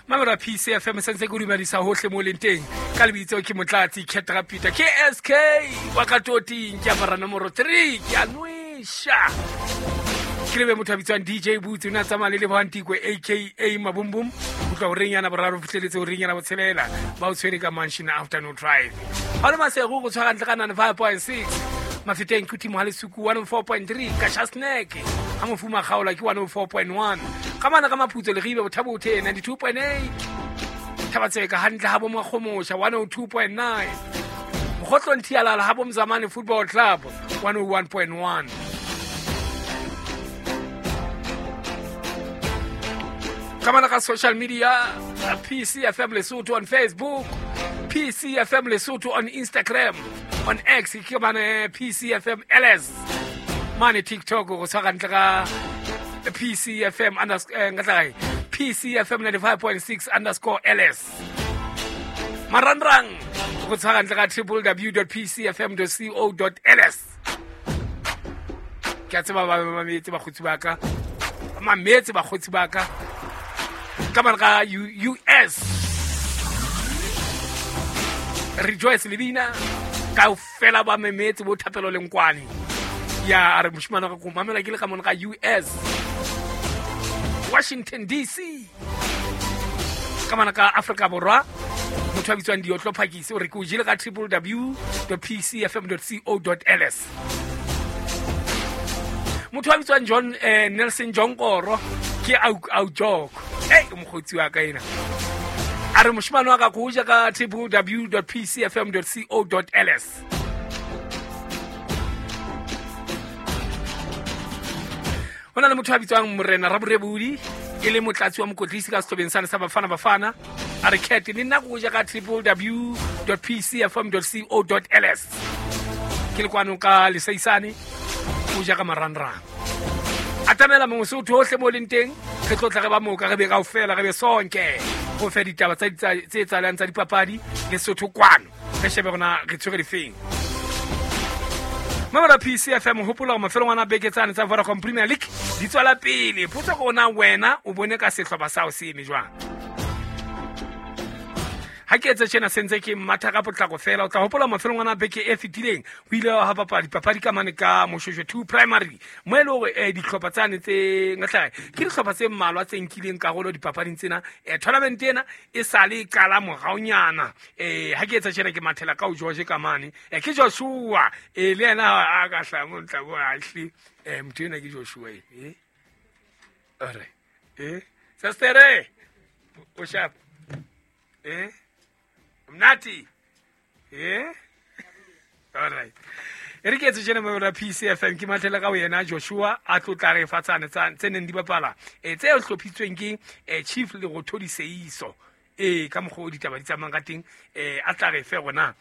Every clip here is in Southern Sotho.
Mamela PCFM sentse ke o dumedisa hohle mo leng teng. Ka lebitso ke Motlatsi Ketra Peter ke SK wa ka toting ke apara nomoro 3 ke a nwesha. Ke lebe motho a bitswang DJ Boots o ne a tsamaya le Lebohang Tikwe aka Mabumbum go tloha horeng yana boraro fitlheletse horeng yana botshelela ba o tshwere ka Mansion Afternoon Drive. Ga le masego go tshwara ntle ka 95.6 Mafeteng ke Timo Halesuku 104.3 Kasha Snack ga mofuma kgaola ke 104.1 ga mana ka maphutso legibe bothabothe 92.8 thabatseka hantle ga bomakgomosha 102.9 mogotlong thialala ga bomzamane football club 101.1 ka mana ka social media PCFM Lesotho on Facebook, PCFM Lesotho on Instagram, on X ke mane PCFM LS, mane TikTok go tshwara ntle ka PCFM underscore nka tla kae? PCFM 95.6 underscore LS. Marangrang go tshwara ntle ka www.pcfm.co.ls. Ke a tseba ba mametse bakgotsi ba ka, ba mametse bakgotsi ba ka ka mane ka US. Rejoice Lebina kaofela ba memetse bo Thapelo Lenkwane. Ya a re moshimane wa ka ko mamela ke le ka mone ka US, Washington DC. Ka mana ka Afrika Borwa motho a bitswang Diotlo Phakisi o re ke o jele ka www.pcfm.co.ls. Motho a bitswang John Nelson Jonkoro ke au joko e mokgotsi wa ka ena a re moshimane wa ka ko ja ka www.pcfm.co.ls. Ho na le motho a bitswang Morena Raborebodi e le motlatsi wa mokotlisi ka sehlobeng sane sa Bafana Bafana a re cat le nna ko ja ka www.pcfm.co.ls. Ke le kwano ka lesaisane o ja ka marangrang. Atamela mongwe hohle mo leng teng re tlo tla re ba moka re be kaofela re be sonke go fe ditaba tsa tse tsalang tsa dipapadi le Sotho kwano re shebe rona re tshwere difeng. Mamela PCFM hopola hore mafelong ana beke tsane tsa Vodacom Premier League di tswela pele. Potso ke ona wena o bone ka sehlopha sa o se eme jwang. Ha ke etse tjena sentse ke matha ka potlako fela o tla hopola mafelong ana beke e fetileng ho ile ha bapala dipapadi ka mane ka Moshweshwe 2 Primary mo e le hore dihlopha tsane tse ngatla ke dihlopha tse mmalwa tse nkileng karolo dipapading tsena. Tournament ena e sale e qala moraonyana. Ha ke etsa tjena ke mathela ka o George ka mane. Ke Joshua le yena a ka hlaha mo ntla bo a hle. Motho ena ke Joshua e. Ore. Sestere. O sharp. Mnati. All right. E re ke etse tjena mo PCFM ke mathela ka yena Joshua a tlo tla re fa tsane tse neng di bapala tse hlophitsweng ke Chief Lerothodi Seiso ka mokgwa o ditaba di tsamayang ka teng a tla re fe rona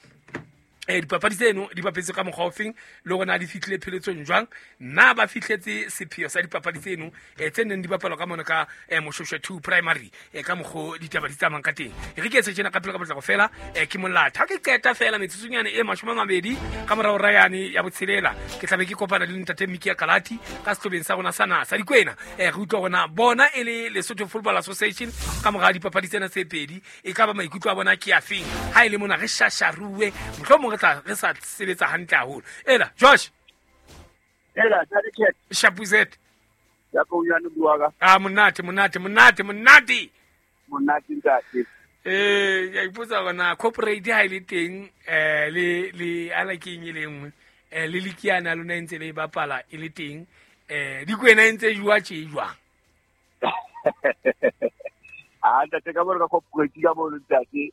dipapadi tseno di bapetse ka mokgwa ofeng le rona di fihlile pheletsong jwang na ba fihletse sepheo sa dipapadi tseno tse neng di bapalwa ka mona ka Moshweshwe 2 Primary ka mokgwa ditaba di tsamayang ka teng. E re ke etse tjena ka pele ka potlako fela ke molata ha ke qeta fela metsotsonyana e 20 ka morao rayane ya botshelela ke tlabe ke kopana le ntate Miki Kalati ka sehlobeng sa rona sa naha sa Dikwena re utlwa rona bona e le Lesotho Football Association ka mora dipapadi tsena tse pedi e ka ba maikutlo a bona ke a feng ha e le mona re shasharuwe mohlomong re tla re sa sebetsa hantle haholo. Ela Josh ela tsa Shapuzet ya ko ya no bua ka a monate monate monate monate monate ntate ya ipotsa bona corporate ha ile teng le ala ke eng e le nngwe le likiana lona ntse le bapala e le teng Dikwena ntse jwa tje jwang a ntate ka bona ka corporate ka bona ntate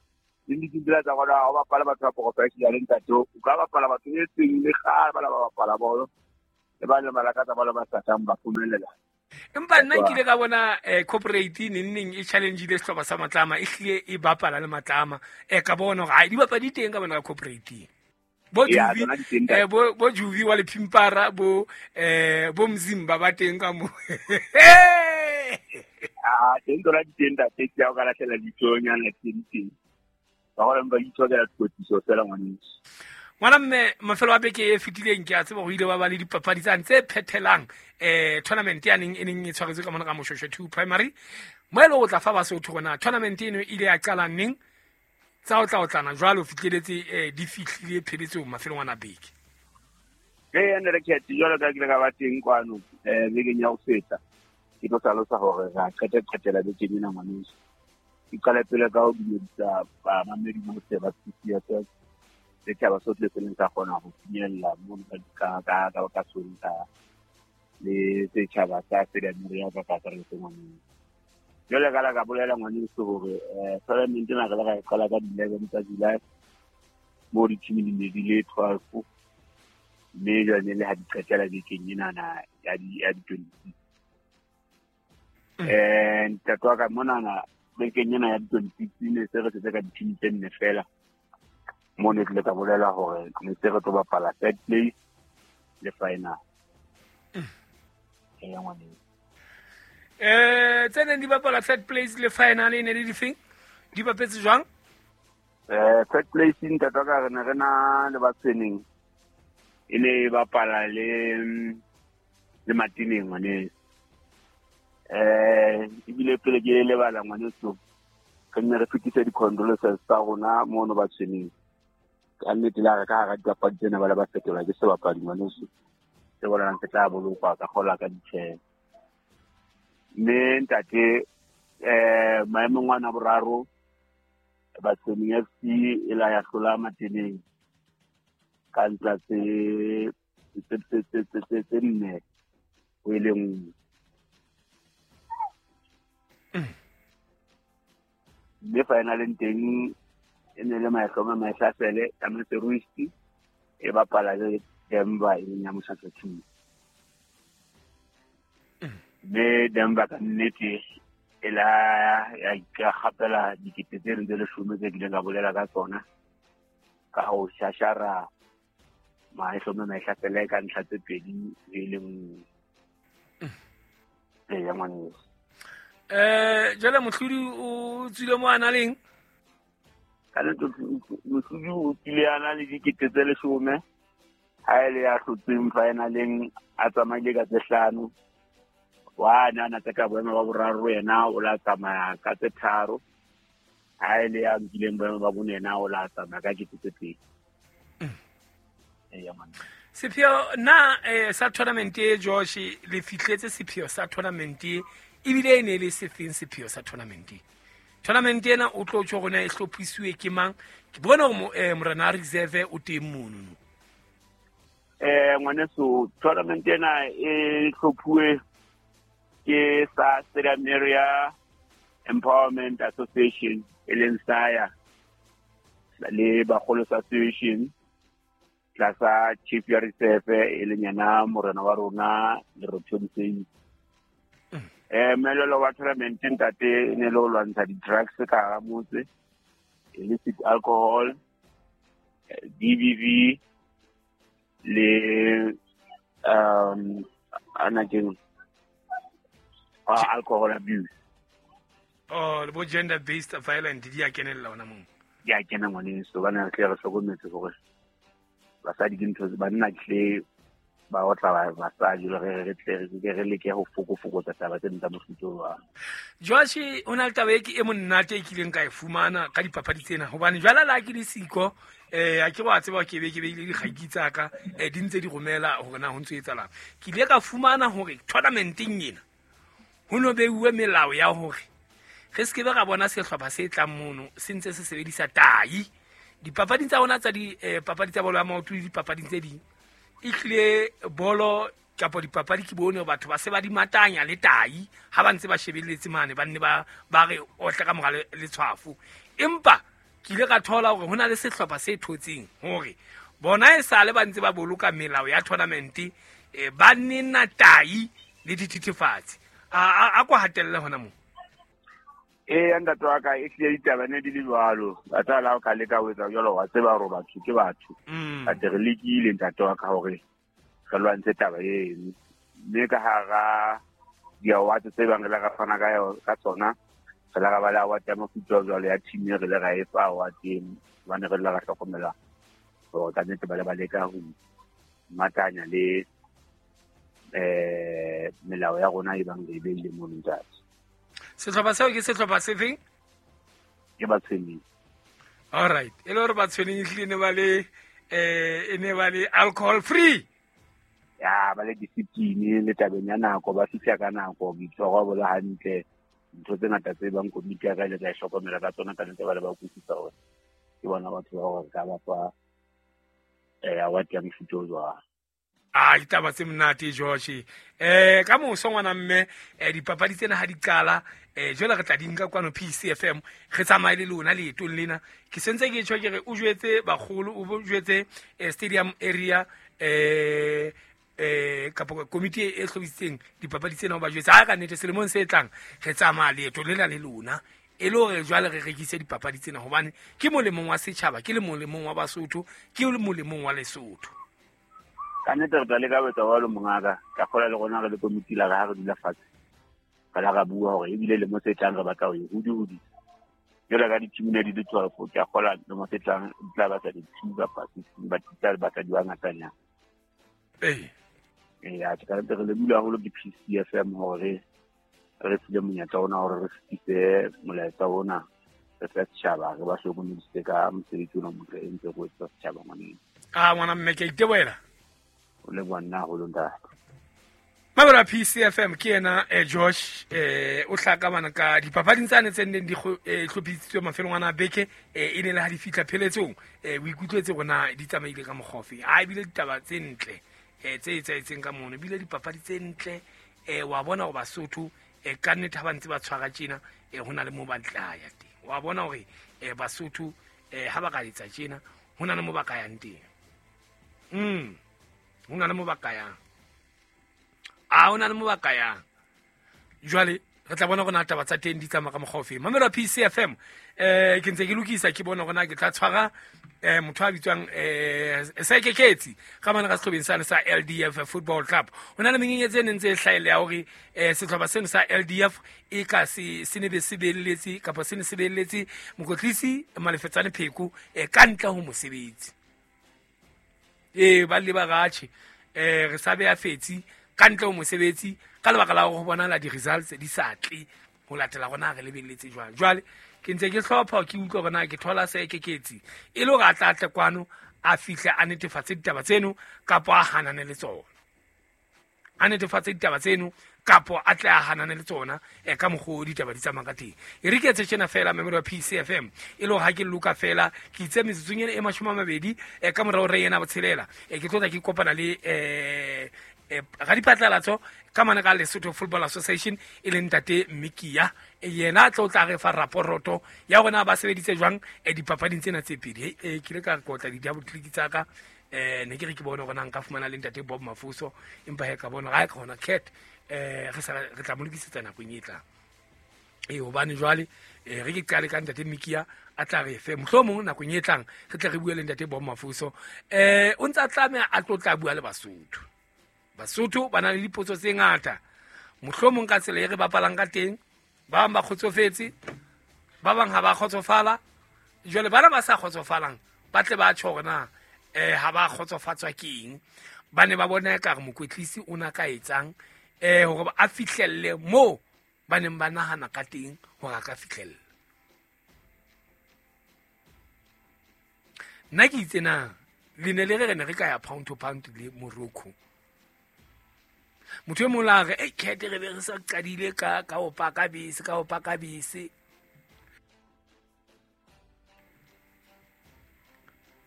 le ditsela tsa bona ha ba bapala batho ba professional ntate o ka bapala batho e seng le kgale ba ba bapala bolo le ba le malakatsa ba le ba satang ba phumelela. Empa nna ke ile ka bona corporate neng e challenge-ile sehlopha sa Matlama e hlile e bapala le Matlama ka bona hore di bapadi teng ka bona ka corporate bo Juvi bo Juvi wa Lephimpara bo bo Mzimba ba teng ka mo a teng tsona di teng ntate ke o ka lahlela ditsonyana teng teng ba gore ba itshokela tlotliso fela ngwaneso. Ngwana mme mafelo a beke e fetileng ke a tseba go ile ba ba le dipapadi tsane tse phethelang tournament ya neng e neng e tshwaretswe ka mona ka Moshweshwe 2 Primary. Mo e le go tla fa Basotho gona tournament eno e ile ya qala neng tsa o tla otlana jwalo fitlheletse di fihlile pheletsong mafelong ana beke. Ee, ne re khethe jwalo ka ke ile ka ba teng kwano bekeng ya ho feta. Ke tlo hlalosa hore ra qetela bekeng ena ngwaneso. Ke qale pele ka ho dumedisa bamamedi bohle ba PCFM setjhaba sohle se leng sa kgona ho finyella mono ka Sontaha le setjhaba sa Stadium ka kakaretso ngwaneso. Jwale ka la ka bolela ngwaneso hore tournament ena re le ra e qala ka di-11 tsa July moo di-team di ne di le 12 mme jwale le ha di qetela bekeng enana ya di-26. Ntate wa ka monana bekeng ena ya di-26 ne se re setse ka di-team tse nne fela. Mo ne tlile ka bolela hore ne se re tlo bapala third place le final. Ngwaneso. Tse neng di bapala third place le final e ne le difeng? Di bapetse jwang? Third place ntate wa ka re ne re na le Batshweneng. E ne e bapala le Matineng ngwaneso. Ebile pele ke lebala ngwaneso re nne re fetise di-condolences tsa rona mono Batshweneng. Ka nnete la re ka hara dipapadi tsena ba le ba fetolwa ke sebapadi ngwaneso. Se bonalang se tla bolokwa ka kgola ka ditjheho. Mme ntate maemong ana boraro Batshweneng FC e la ya hlola Matineng ka ntla tse nne ho e le nngwe. Mme finaleng teng e ne le Mahloma Mahlafele ya Maseruisti e bapala le Denver e leng ya Moshweshwe 2. Mme Denver ka nnete e la ya ikgapela dikete tse ding tse leshome tse kileng ka bolela ka tsona ka ho shashara Mahloma Mahlafele ka ntlha tse pedi e le nngwe. Ya ngwaneso. Jwale mohlodi o tswile mo a na leng? Ka nnete mohlodi o tswile a na le dikete tse leshome. Ha e le ya hlotseng finaleng a tsamaile ka tse hlano. Wa na na tse ka boemo ba boraro yena o la tsamaya ka tse tharo. Ha e le ya nkileng boemo ba bone yena o la tsamaya ka kete tse pedi. Ya ngwaneso. Sepheo na sa tournament e Josh le fihletse sepheo sa tournament ebile e ne le sefeng sepheo sa tournament? Tournament ena o tlo tjho rona e hlophiswe ke mang? Ke bona hore morena reserve o teng mono. Ngwaneso tournament ena e hlophuwe ke sa Stadium Area Empowerment Association e leng SAYA le Bagolo Association tlasa Chief ya Reserve e leng yena morena wa rona Lerothodi Seisi. Melelo wa tournament ntate e ne le ho lwantsha di-drugs ka hara motse, illicit alcohol, DBV le ana keng alcohol abuse. Oh, le bo gender based violence di a kenella hona moo. Di a kena ngwaneso, bana re tle re hlokometse hore basadi ke ntho banna tle ba otla basadi re tle re leke ho fokotsa taba tse tsa mofuta wa. Josh o na le taba e ke e monate e kileng ka e fumana ka dipapadi tsena hobane jwale la ke le siko a ke wa tseba ke be ke beile dikgaki tsa ka di ntse di romela hore na ho ntse etsalang. Ke ile ka fumana hore tournamenteng ena ho no beuwe melao ya hore re se ke be ra bona sehlopha se tlang mono se ntse se sebedisa tai dipapading tsa rona tsa dipapadi tsa bolo ya maoto le dipapading tse ding. E hlile bolo kapa dipapadi ke bone batho ba se ba di matanya le tai ha ba ntse ba shebelletse mane ba nne ba re otle ka mora letshwafo. Empa ke ile ka thola hore hona le sehlopha se thotseng hore bona e sale ba ntse ba boloka melao ya tournament ba nena tai le dithethefatsi. A kwa hatelle hona moo. Ee, ntate wa ka e hlile ditaba ne di le jwalo. Batho la o ka leka ho etsa jwalo wa tseba hore batho ke batho. Ate re lekile ntate wa ka hore re lwantshe taba eno. Mme ka hara di-award tse bang re la ra fana ka tsona, re la ra ba le award ya mofuta o jwalo ya team e re le ra e fa award eno hobane re la ra hlokomela Hore ka nnete ba le ba leka ho matanya le melao ya rona e bang re e beile mono ntate. Sehlopha seo ke sehlopha se feng? Ke Batshweneng. All right. E le hore Batshweneng ehlile ne ba le e ne ba le alcohol free. Ya ba le discipline le tabeng ya nako, ba fihla ka nako, boitshwaro bo le hantle. Ntho tse ngata tse bang komiti ya ka ile ka e hlokomela ka tsona ka nnete ba le ba utlwisisa hore ke bona batho ba hore ka ba fa award ya mofuta o jwang. A ditaba tse monate George. Ka moso ngwana mme dipapadi tsena ha di qala jwale re tla di nka kwano PCFM re tsamaye le lona leetong lena. Ke sentse ke tjho ke re o jwetse bagolo, o jwetse stadium area kapa komiti e hlophisitseng dipapadi tsena, o ba jwetse ha ka nnete selemong se tlang re tsamaya leeto lena le lona e le hore jwale re rekise dipapadi tsena, hobane ke molemong wa setjhaba, ke le molemong wa Basotho, ke le molemong wa Lesotho. Ka nnete re tla leka ho etsa jwalo mongaka. Ka kgola le rona re le komiti la re ha re dula fatshe re la ra bua hore ebile lemo se tlang re batla ho e hodi-hodisa. Jwale ka di-team ne di le 12, ke a kgola lemo se tlang di tla batla di-two kapa sixteen, but di tla batla di ba ngatanyana. Ee. Ee, ke ka nnete re lebohile haholo ke PCFM hore re file monyetla ona hore re fetise molaetsa ona re fe setjhaba, re ba hlokomedise ka mosebetsi ona o motle e ntse re o etsetsa setjhaba ngwaneng. A ngwana mme ke a itebohela. O leboha nna haholo ntate. Mabelo a PCFM ke yena Josh o hlaka bana ka dipapading tsane tse neng di hlophisitswe mafelong ana a beke, e ne le ha di fihla pheletsong, o ikutlwetse hore na di tsamaile ka mokgwa ofe. Ha ebile ditaba tse ntle tse etsahetseng ka mono, ebile dipapadi tse ntle, wa bona hore Basotho ka nnete ha ba ntse ba tshwara tjena, ho na le moo ba tla ya teng. Wa bona hore Basotho ha ba ka etsa tjena, ho na le moo ba ka yang teng. Ho na le moo ba ka yang. A ho na le moo ba ka yang. Jwale re tla bona hore na taba tsa teng di tsamaya ka mokgwa ofe. Mamelo PCFM, ke ntse ke lokisa ke bona hore na ke tla tshwara motho a bitswang Sekeketsi ka mane ka sehlobeng sane sa LDF Football Club. Ho na le menyenyetsi e neng ntse e hlahella ya hore sehlopha seno sa LDF e ka se ne be se beelletse kapa se ne se beelletse mokwetlisi Malefetsane Pheko ka ntle ho mosebetsi. Ba le ba ratjhe re sa beha fetsi ka ntle ho mosebetsi ka lebaka la hore ho bonahala di-results di sa tle ho latela rona re lebelletse jwang. Jwale ke ntse ke hlopha ke utlwa hore na ke thola Sekeketsi e le hore a tla tle kwano a fihle a netefatse ditaba tseno kapo a hanane le tsona. A netefatse ditaba tseno kapo a tle a hanane le tsona ka mokgwa o ditaba di tsamayang ka teng. E re ke etse tjena fela memori wa PCFM e le hore ha ke loka fela ke itse metsotsong ena e 20 ka morao re ena botshelela, ke tlo tla ke kopana le radiphatlalatso ka mane ka Lesotho Football Association e leng ntate Mmikia, yena a tlo tla re fa raporoto ya rona ba sebeditse jwang dipapading tsena tse pedi. Ke ile ka kotla di-double click tsa ka, ne ke re ke bone hore na nka fumana le ntate Bob Mafuso, empa he ka bona ha ka hona cat re tla mo lokisetsa nakong e tlang. Hobane jwale re ke qale ka ntate Mmikia a tla re fe mohlomong nakong e tlang re tle re bue le ntate Bob Mafuso. O ntse a tlameha a tlo tla bua le Basotho. Basotho ba na le dipotso tse ngata, mohlomong ka tsela e re bapalang ka teng, ba bang ba kgotsofetse, ba bang ha ba kgotsofala. Jwale bana ba sa kgotsofalang ba tle ba tjho hore na ha ba kgotsofatswa ke eng, ba ne ba bona ekare mokwetlisi o na ka etsang hore a fihlelle moo ba neng ba nahana ka teng hore a ka fihlella. Nna ke itse na le ne le re re ne re ka ya pound to pound le Morocco. Motho e mong la re kete re be re sa qadile ka ho paka bese, ka ho paka bese.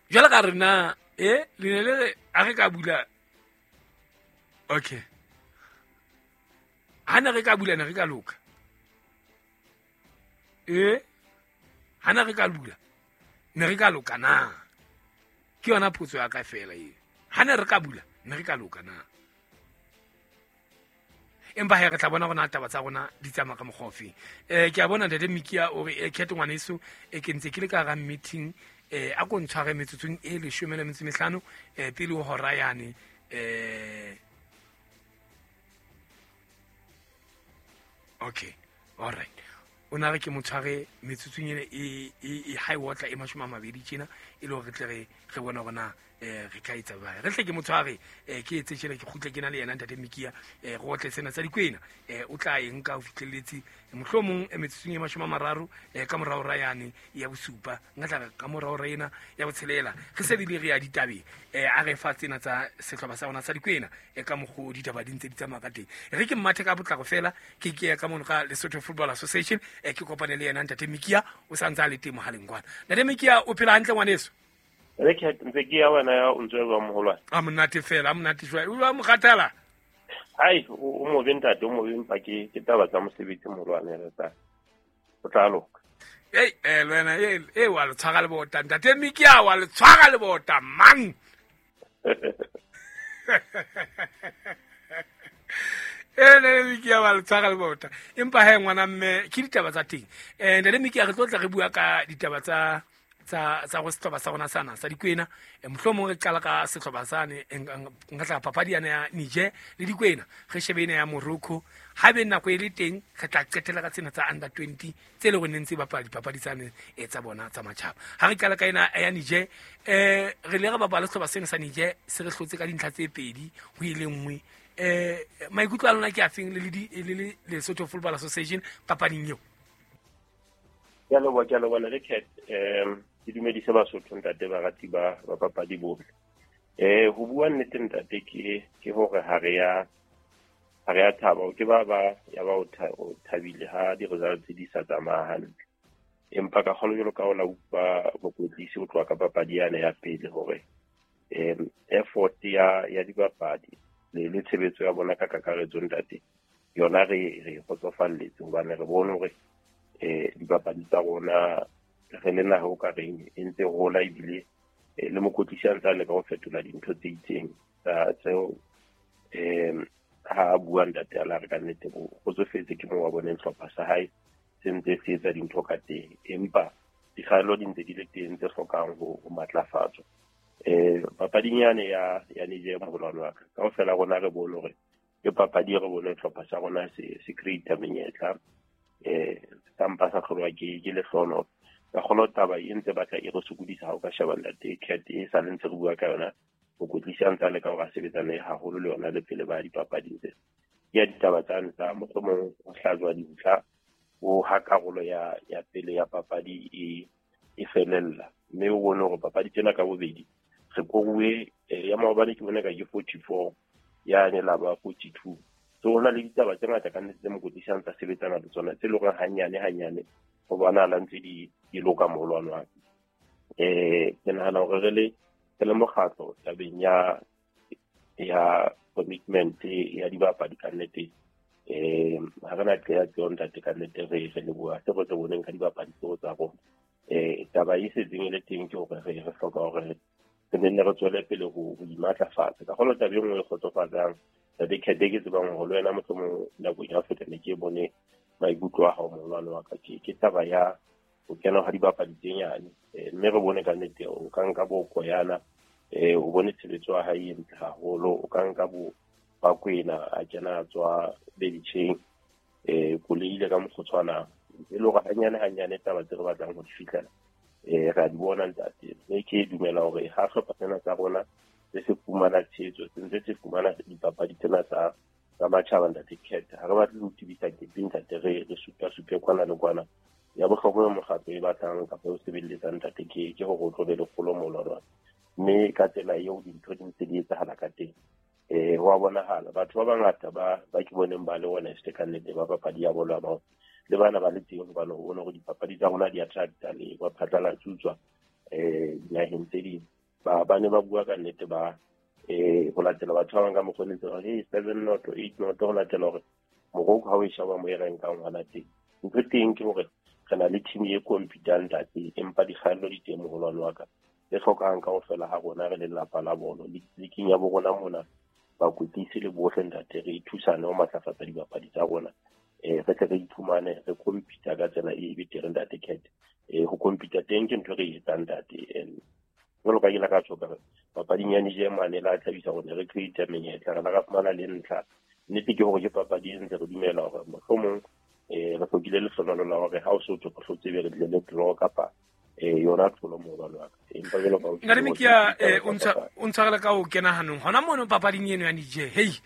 Jwale ka re na le ne le re a re ka bula, okay, ha ne re ka bula ne re ka loka, ha ne re ka bula ne re ka loka na? Ke yona potso ya ka fela eo. Ha ne re ka bula ne re ka loka na? Empa he re tla bona rona taba tsa rona di tsamaya ka mokgwa ofe. Ke a bona ntate Mmikia o re khetho ngwaneso, ke ntse ke le ka hara meeting, a ko ntshware metsotsong e 15 pele ho hora yane. Okay, all right. O na re ke motshware metsotsong ena e high water e 20 tjena e le hore re tle re bone hore na re ka etsa jwang. Re tle ke motshware ke etse tjena ke kgutle ke na le yena ntate Mikia re otle sena tsa dikwena o tla e nka ho fihlelletse mohlomong metsotsong e 30 ka morao ra yane ya bosupa nka tla ka morao ra ena ya botshelela re se le re ya ditabeng a re fa tsena tsa sehlopha sa rona sa dikwena ka mokgo ditaba di ntse di tsamaya ka teng. Re ke mmathe ka potlako fela ke ke ka mono ka Lesotho Football Association ke kopane le yena ntate Mikia o sa ntse a le teng mohaleng kwana. Ntate Mikia o phela hantle ngwaneso? Re ke ntse ke ya wena ya o ntse ba moholwane. A monate fela, a monate jwale. O ba mokgathala? Ai, o mobe ntate, o mobe empa ke taba tsa mosebetsi moholwane re tsa. O tla loka. Ei, le wena e wa le tshwara le bota. Ntate Mikia wa le tshwara le bota mang? Ntate Mikia wa le tshwara le bota. Empa he ngwana mme ke ditaba tsa teng. Ntate Mikia re tlo tla re bua ka ditaba tsa go sehlopha sa rona sana sa dikwena. Mohlomong re qala ka sehlopha sane nka tla papadi yana ya Niger le dikwena re shebe ena ya Morocco. Ha be nako e le teng re tla qetela ka tsena tsa under 20 tse le rona ntse bapala dipapadi tsane tsa bona tsa matjhaba. Ha re qala ka ena ya Niger re le re bapala sehlopha sena sa Niger se re hlotse ka dintlha tse 2 ho ile nngwe. Maikutlo a lona ke afeng le le Lesotho Football Association papading eo? Ke a leboha le Cat. Ke dumedise Basotho ntate barati ba papadi bohle. Ho bua nnete ntate ke hore ha re ya thaba ke ba ya ba o thabile ha di-results di sa tsamaya hantle. Empa ka kgolo jwalo ka o la utlwa mokwetlisi o tloha ka papadi yane ya pele hore effort ya dibapadi le tshebetso ya bona ka kakaretso ntate yona re kgotsofalletse hobane re bone hore dibapadi tsa rona re le naha o ka reng e ntse hola ebile le mokwetlisi a ntse a leka ho fetola dintho tse itseng tseo ha bua ntate a la re ka nnete o kgotsofetse ke moo wa boneng hlopha sa hae se ntse se etsa dintho ka teng, empa dikgaello di ntse di le teng tse hlokang ho matlafatswa. Papading yane ya Niger moholwane wa ka kaofela rona re bone hore ke papadi e re bone hlopha sa rona se create menyetla sa mpa sa hlolwa ke lehlono. Ka kgolo taba e ntse batla e re sokodisa ha o ka sheba ntate Cat e sa le ntse re bua ka yona mokwetlisi a ntse a leka hore a sebetsane haholo le yona le pele ba dipapading tse. Ke ya ditaba tsane tsa mohlomong ho hlajwa dintlha o ha karolo ya pele ya papadi e felella, mme o bone hore papadi tsena ka bobedi re koruwe ya maobane ke bone ka ke 44 yane la ba 42. So ho na le ditaba tse ngata ka nnete tse mokwetlisi a ntse a sebetsana le tsona tse leng hore hanyane ho bonahala ntse di loka moholwane wa ka. Ke nahana hore re le mokgatlo tabeng ya commitment ya dibapadi ka nnete ha re na qeaqeo ntate ka nnete re leboha se re se boneng ka dibapadi tseo tsa rona. Taba e setseng e le teng ke hore re hloka hore re nne re tswele pele ho imatlafatsa. Ka kgolo taba e nngwe e kgotsofatsang ntate Cat ke tsebang hore le wena mohlomong nakong ya ho feta ne ke bone maikutlo a hao moholwane wa ka ke taba ya ho kena ha dibapadi tse nyane mme re bone ka nnete o ka nka bo Koyana o bone tshebetso ya hae e ntle haholo, o ka nka bo Bakwena a kena a tswa bencheng koloi ile ka mokgotshwana e le hore hanyane taba tse re batlang ho di fihlela re a di bona ntate. Mme ke dumela hore ha hlopha sena tsa rona se se fumana tshehetso se ntse se fumana dipapadi tsena tsa matjhaba ntate Cat ha re batle ho tibisa kepe ntate re supa kwana le kwana. Ya bohlokwa mokgatlo e batlang kapa o sebeletsang ntate ke hore o tlo be le kgolo moholwane, mme ka tsela eo dintho di ntse di etsahala ka teng ho a bonahala batho ba bangata ba ke boneng ba le honest ka nnete ba papadi ya bolo ya maoto le bana ba le teng hobane o bone hore dipapadi tsa rona di attracta le ba phatlalatswa dinaheng tse ding. Ba ne ba bua ka nnete ba ho latela batho ba bang ka mokgwa o ntse ba 7-0 8-0 ho latela hore Morocco ha o e sheba mo e renkang hona teng. Ntho teng ke hore re na le team e competang ntate, empa dikgaello di teng moholwane wa ka e hlokang kaofela ha rona re le lelapa la bolo leking ya bo rona mona bakwetlisi le bohle ntate re thusane ho matlafatsa dibapadi tsa rona re tle re iphumane re compete ka tsela e betere ntate Cat. Ho compete teng ke ntho re e etsang ntate. Jwalo ka ke la ka tjho ka papading ya Niger mane la thabisa hore re create menyetla re la ka fumana le ntlha. Nnete ke hore ke papadi e ntse re dumela hore mohlomong re hlokile bile lehlohonolo la hore ha o so tswe go hlotse be re tle le draw kapa yona tlholo moholo wa ka. Empa jwalo ka Ntate Mikia, o ntshwarele ka ho kena hanong hona mono papading eno ya Niger. Hey,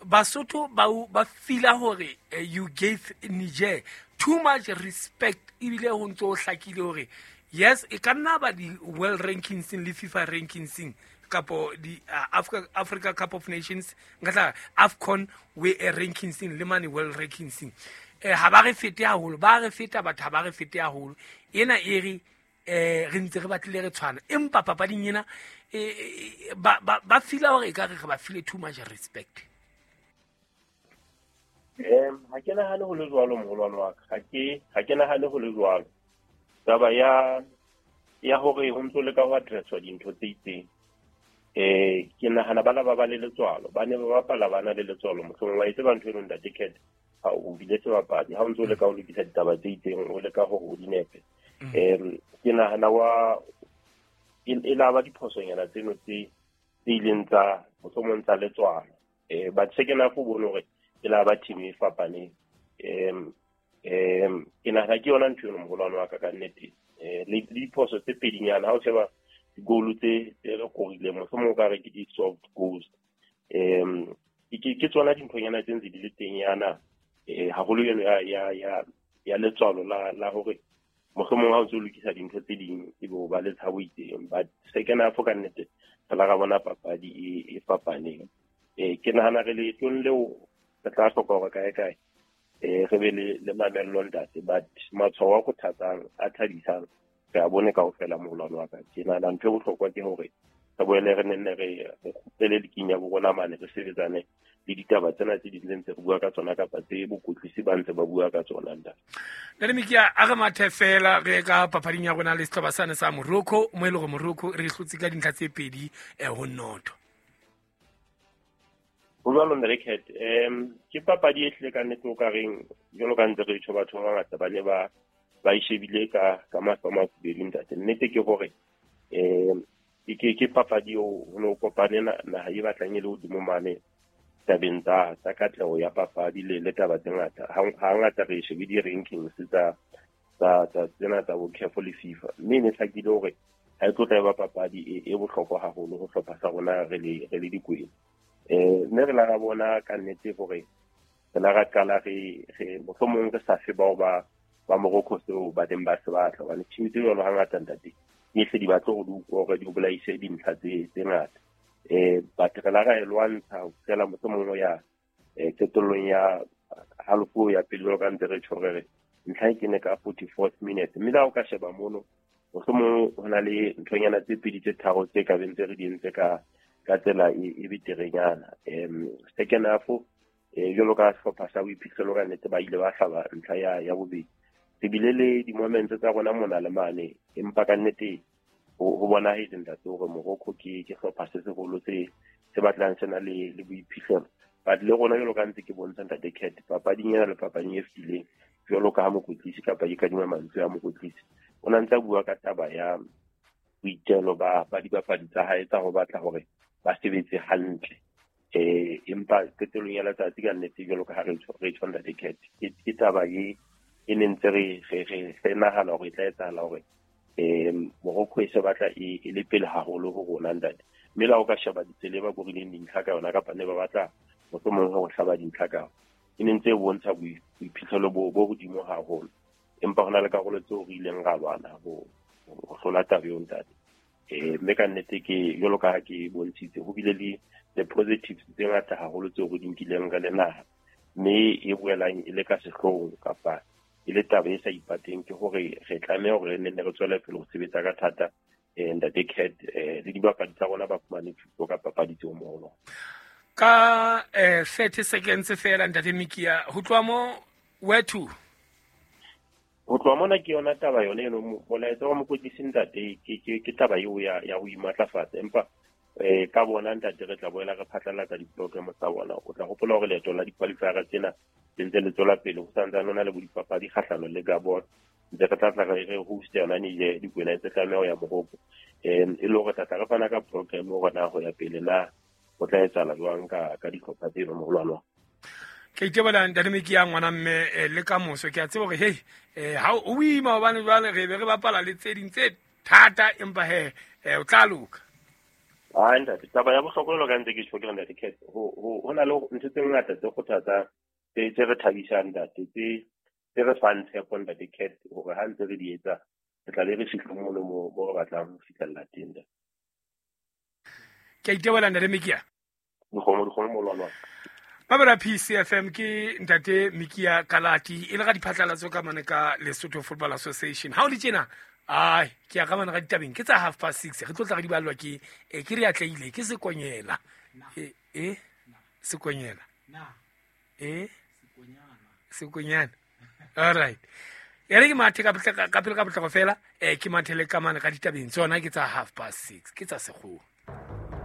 Basotho ba feel-a hore you gave Niger too much respect, ebile ho ntso ho hlakile hore yes, e ka nna ba di world rankings le FIFA rankings kapo di Africa Cup of Nations, nka tla AFCON we rankings le mane world rankings. Ha ba re fete haholo, ba re feta batho, ha ba re fete haholo. Ena e re re ntse re batlile re tshwana, empa papading ena ba feel-a hore e ka re ba file too much respect. Ha ke nahane ho le jwalo moholwane wa ka, ha ke nahane ho le jwalo. Taba ya hore ho ntso le ka ho address-wa dintho tse itseng, ke nahana bana ba le letswalo, ba ne ba bapala ba na le letswalo. Mohlomong wa e tseba ntho eno ntate Cat, ha o bile sebapadi, ha o ntso leka ho lokisa ditaba tse itseng, o leka hore o di nepe. Ke nahana wa e la ba diphosonyana tseno tse ileng tsa mohlomong tsa letswalo. But second half o bone hore e la ba team e fapaneng. Ke nahana ke yona ntho eno moholwane wa ka ka nnete. Le diphoso tse pedinyana ha o sheba di-goal tse re korileng, mohlomong o ka re ke di-soft goals. Ke tsona dinthonyana tse ntse di le teng yana, haholo eno ya letswalo la hore mohlomong ha o ntso lokisa dintho tse ding ebe o ba le tshabo itseng. But second half ka nnete re la ra bona papadi e fapaneng. Ke nahana re leetong leo re tla hloka hore kae kae re be le mamello ntate, but matshwao a kgothatsang a thabisang re a bone kaofela moholwane wa ka. Ke nahana ntho e bohlokwa ke hore re boele re nenne re kgutlele liking ya bo rona mane, re sebetsane le ditaba tsena tse ding tse ntse re bua ka tsona kapa tse bokwetlisi ba ntse ba bua ka tsona ntate. Ntate Mikia, a re mathe fela re ka papading ya rona le sehlopha sane sa Morocco, mo e leng hore Morocco re hlotse ka dintlha tse 2-0. Ho jwalo Ntate Cat, ke papadi e hlile ka nnete o ka reng jwalo ka ntse re tjho batho ba bangata ba ne ba e shebile ka mahlo a mafubedu ntate. Nnete ke hore ke papadi eo ho no kopane naha e batlang e le hodimo mane tabeng tsa katleho ya papadi le taba tse ngata. Hangata re shebe di-rankings tsa tsena tsa bo CAF le FIFA, mme e ne hlakile hore ha e tlo tla ba papadi e bohlokwa haholo ho hlopha sa rona re le dikwena. Mme re la ra bona ka nnete hore re la ra qala re mohlomong re sa fe bao ba Morocco seo ba teng ba se batla, hobane team tse jwalo hangata ntate di hle di batle hore di utlwe hore di bolaise dintlha tse ngata. But re la ra e lwantsha ho fihlela mohlomong ho ya qetellong ya halofo ya pele jwalo ka ntse re tjho re re ntlha e kene ka 44th minute. Mme le ha o ka sheba mono mohlomong ho na le nthonyana tse pedi tse tharo tse ka beng tse re di entse ka tsela e beterenyana. Second half jwalo ka sehlopha sa boiphihlelo ka nnete ba ile ba hlaba ntlha ya bobedi. Re bile le di-moments tsa rona mona le mane, empa ka nnete ho bonahetse ntate hore Morocco ke sehlopha se seholo se batlang se na le boiphihlelo. But le rona jwalo ka ntse ke bontsha ntate Cat, papading ena le papading e fetileng jwalo ka ha mokwetlisi kapa ke kadima mantswe a mokwetlisi, o na ntse a bua ka taba ya boitelo ba dibapadi tsa hae tsa ho batla hore ba sebetse hantle. Empa qetellong ya letsatsi ka nnete jwalo ka ha re tjho ntate Cat, ke taba e ne ntse re nahana hore e tla etsahala hore Morocco e se batla e le pele haholo ho rona ntate. Mme le ha o ka sheba ditsela e ba korileng dintlha ka yona kapa ne ba batla mohlomong ho hlaba dintlha ka yona, e ne ntse e bontsha boiphihlelo bo hodimo haholo. Empa ho na le karolo tseo re ileng ra lwana ho hlola taba eo ntate. Mme ka nnete ke jwalo ka ha ke bontshitse ho bile le the positives tse ngata haholo tseo re di nkileng re le naha, mme e boelang e le ka sehloohong kapa e le taba e sa ipateng ke hore re tlameha hore re nne re tswele pele ho sebetsa ka thata ntate Cat, le dibapadi tsa rona ba fumane thuto ka papadi tseo moholo. Ka 30 seconds fela ntate Mikia, ho tloha mo where to? Ho tloha mona ke yona taba yone eno, molaetsa wa mokwetlisi ntate ke taba eo ya ho imatlafatsa. Empa ka bona ntate re tla boela re phatlalatsa di-program tsa bona. O tla hopola hore leeto la di-qualifier tsena le ntse le tswela pele, ho santsane ho na le bo dipapadi kgahlano le Gabon, ntse re tla tla re host yona Niger, dikwena tse tlameha ho ya Morocco. E le hore tla tla re fana ka program hore na ho ya pele na ho tla etsahala jwang ka dihlopha tseno moholwane wa. Ke itebola ntate Meki ya ngwana mme le ka moso ke a tseba gore hei ha o boima hobane jwale re be re bapala le tse ding tse thata empa he o tla loka. Ai ntate, taba ya bohlokwa jwalo ka ntse ke tjho ke re ntate Cat, ho na le ntho tse ngata tse kgothatsang tse re thabisang ntate, tse re fang tshepo ntate Cat, hore ha ntse re di etsa re tla be re fihle mono mo re batlang ho fihlella teng ntate. Ke a itebola ntate Mekia. Dikgomo molwalwa. Mabela PCFM ke ntate Mekia Kalati e le ga diphatlalatso ka mane ka Lesotho Football Association. Ha o le tjena, ai ke ya ka mane ga ditabeng ke tsa 6:30 re tlo tla re di ballwa ke ke re atleile ke sekonyela. Sekonyela. Sekonyana. All right. Ya re ke mathe ka pele ka potlako fela, ke mathele ka mane ga ditabeng tsona ke tsa 6:30 ke tsa sekgowa.